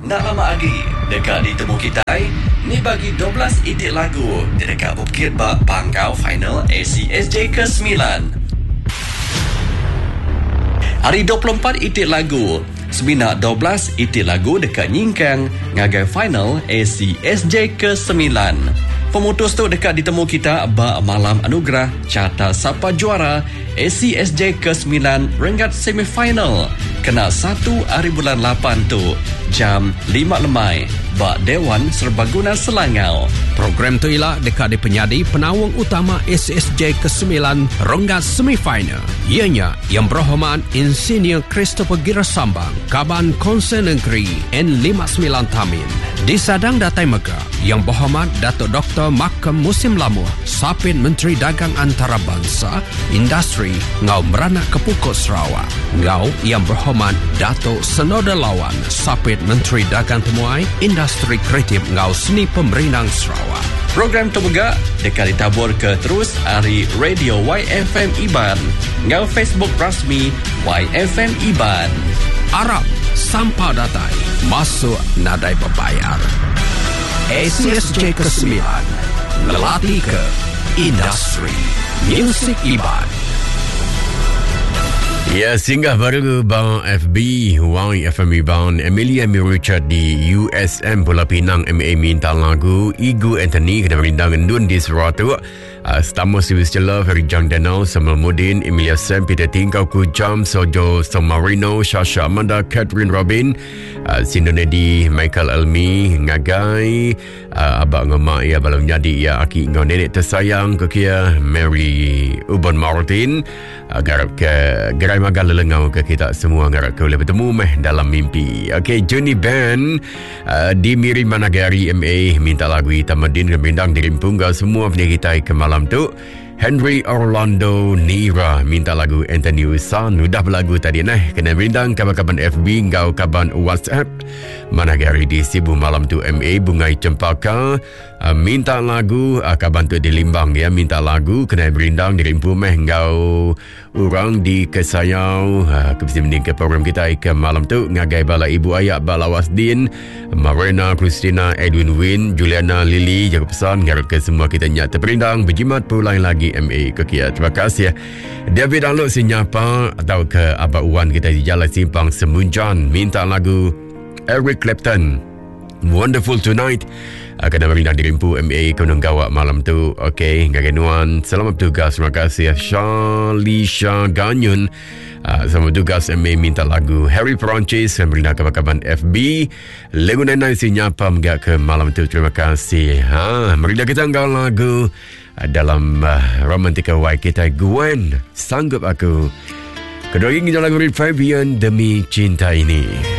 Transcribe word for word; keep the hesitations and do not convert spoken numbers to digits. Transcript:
Nak lama lagi dekat ditemu kita ni bagi dua belas itik lagu di dekat Bukit Bak Panggau Final A C S J kesembilan. Hari dua puluh empat itik lagu, semina dua belas itik lagu dekat nyingkang ngagai final A C S J kesembilan. Pemutus tu dekat ditemu kita ba malam anugerah Carta Sapa Juara A C S J kesembilan renggat semifinal kena satu hari bulan lapan tu jam lima lemai ba Dewan Serbaguna Selangau. Program tu ialah dekat di penyadi penawang utama A C S J kesembilan renggat semifinal. Ianya yang berhormat Insinyur Christopher Gira Sambang, Kaban Konsel Negeri N lima sembilan Tamin. Di Sadang Datai Mega, yang berhormat Datuk Doktor Makam Musim Lamuh, Sapit Menteri Dagang Antarabangsa, Industri Ngau Meranak Kepukut Sarawak. Ngau yang berhormat Datuk Senoda Lawan, Sapit Menteri Dagang Temuai, Industri Kreatif Ngau Seni Pemerinang Sarawak. Program tu juga dekat ditabur ke terus hari Radio Y F M Iban ngau Facebook rasmi Y F M Iban. Arab sampai datai masuk nadai berbayar. A C S J kesembilan ngelati ke industri music Iban. Ya, singgah baru bang F B Y F M Iban Emilia Mirucha di U S M Pulau Pinang M A minta lagu Igu Anthony kena merindang Endun di Seratuk. Uh, Stamos Siwis Love, Harry Jang Daniel, Samuel Mudin, Emilia Sam, Peter Tingkau Kujam, Sojo Somarino, Shasha Amanda, Catherine Robin, uh, Sindonedi, Michael Elmi, Ngagai, uh, Abang Ngemak, ya, Balam Nyadi, ya, Aki Ngau Nenek Tersayang, Kekia, Mary Ubon Martin, uh, garap ke Gerai Magal Lelengau ke kita semua, garap ke boleh bertemu meh dalam mimpi. Okey, Johnny Ben, uh, di Miri Managari M A, minta lagu Tamadin Rembindang di Rimpungga, semua punya kita ke malam tu. Henry Orlando Nira minta lagu Anthony Usan. Udah berlagu tadi nah. Kena berindang kaban-kaban F B ngau kaban WhatsApp. Mana gari di Sibu malam tu M A Bungai Cempaka uh, minta lagu uh, kaban tu di Limbang ya, minta lagu kena berindang di Rimpu meh ngau orang di Kesayau. Uh, kepisi mending ke program kita ke malam tu ngagai bala ibu ayak bala Wasdin, Marina Christina, Edwin Win, Juliana Lily, jaga pesan ngarap ke semua kita nyak terperindang berjimat pulang lagi M A ke kia. Terima kasih ya. David Alok sinyapa atau ke Abang Wan kita di Jalan Simpang Semunjan minta lagu Eric Clapton Wonderful Tonight. Akan merindang dirimpu M A Konon Gawak malam tu. Okey, ngagai nuan. Selamat bertugas. Terima kasih Shalisha Ganyun. Uh, selamat bertugas M A minta lagu Harry Perancis yang merindang kaban-kaban F B. Lagu Nenai sinyapa menggak ke malam tu. Terima kasih. Ha, merindang kita enggau lagu dalam uh, Romantika Y kita Gwen Sanggup Aku. Kedua ini dalam lagu Fabian Demi Cinta Ini.